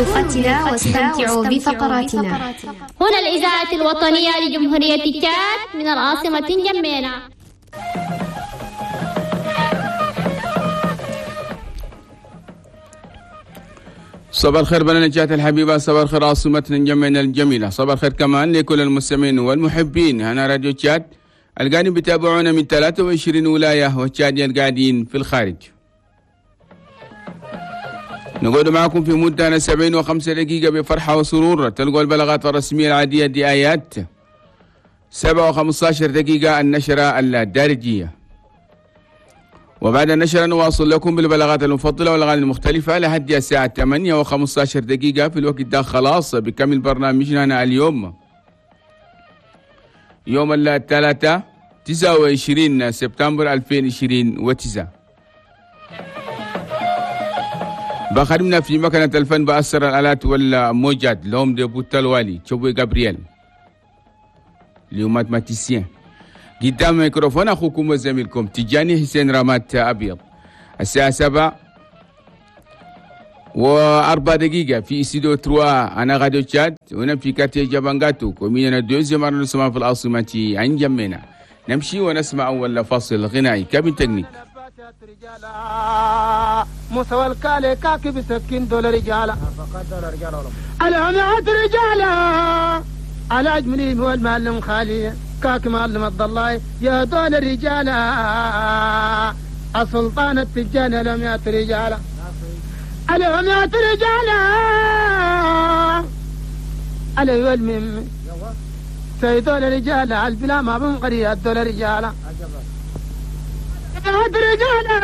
برفقتنا واستمتعوا بفقراتنا. هنا الإذاعة الوطنية لجمهورية تشاد من العاصمة نجمينا. صباح الخير بنا نجاة الحبيبة، صباح الخير عاصمتنا نجمينا الجميلة، صباح الخير كمان لكل المستمعين والمحبين. هنا راديو تشاد القاعدين بيتابعونا من 23 ولاية وتشاد القاعدين في الخارج. نقعد معكم في مدة 75 دقيقة بفرحة وسرور. تلقوا البلاغات الرسمية العادية دي آيات 7:15 دقيقة النشرة الدارجية، وبعد النشرة نواصل لكم بالبلاغات المفضلة والأغاني المختلفة لحد الساعة 8:15 دقيقة. في الوقت ده خلاص بكمل برنامجنا اليوم، يوم الثلاثاء 29 سبتمبر 2029. بخدمنا في مكنة الفن بأسر الآلات والموجات لهم دي بوتالوالي تشوبي جابرييل le mathématicien. قدام ميكروفون أخوكم وزميلكم تجاني حسين رامات أبيض. الساعة 7:04 في استوديو 3 أنا غاديو تشاد، هنا في quartier جابانغاتو commune deuxième arrondissement في العاصمة أنجمينا. نمشي ونسمع أول فاصل غنائي. cabine technique. موسى والكالي كاكي بسكين دول رجالة العمات رجالة على أجملين هو المعلم خالي كاك معلم الضلاي يا دول الرجالة السلطان التجاني العمات رجالة العمات رجالة علي والمم سيدول الرجالة البلا ما بنقري الدول رجالة رجالة